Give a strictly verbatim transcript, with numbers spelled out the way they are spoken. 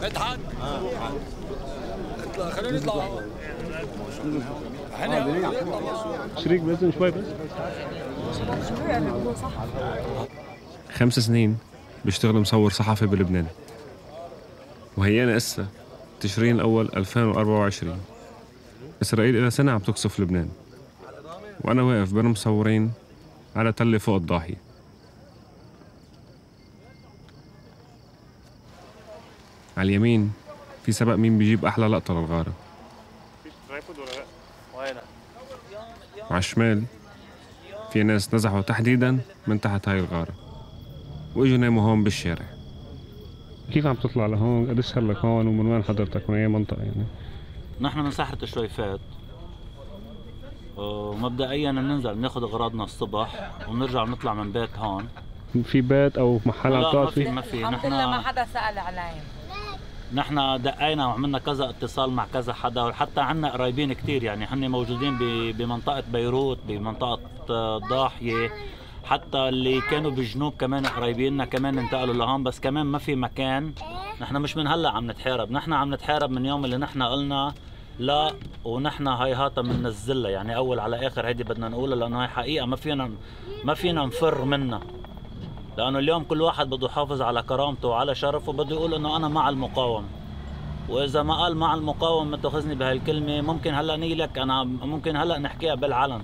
مدحت اطلع خلينا نطلع شريك بإذن شوي بس. خمس سنين بيشتغل مصور صحفي بلبنان، وهيانا إسا تشرين الأول ألفين وأربعة وعشرين. إسرائيل إلى سنة عم تقصف لبنان، وأنا واقف بين مصورين على تلة فوق الضاحية. على اليمين في سبق مين بيجيب أحلى لقطة للغارة، وعلى الشمال في ناس نزحوا تحديداً من تحت هاي الغارة وإجوا ناموا هون بالشارع. كيف عم تطلع لهون؟ قديش صار لك هون ومن وين حضرتك؟ من أي منطقة يعني؟ نحن من ساحة الشويفات، ومبدئياً بننزل بناخد أغراضنا الصبح وبنرجع بنطلع من بيت هون. في بيت أو محل عم تقعد فيه؟ لا ما في ما في. الحمد لله ما حدا سأل علي. نحن دقينا وعملنا كذا اتصال مع كذا حدا، وحتى عنا قرايبين كتير يعني هن موجودين بمنطقة بيروت، بمنطقة الضاحية، حتى اللي كانوا بالجنوب كمان قرايبيننا كمان انتقلوا لهون، بس كمان ما في مكان. نحن مش من هلا عم نتحارب، نحن عم نتحارب من يوم اللي نحن قلنا لا، ونحن هاي هاتا بننزلها يعني اول على اخر. هيدي بدنا نقولها لانه هاي حقيقة ما فينا ما فينا نفر منها، لانه اليوم كل واحد بده يحافظ على كرامته وعلى شرفه، بده يقول انه انا مع المقاومة. واذا ما قال مع المقاومة ما تاخذني بهالكلمة، ممكن هلا نيلك انا ممكن هلا نحكيها بالعلن.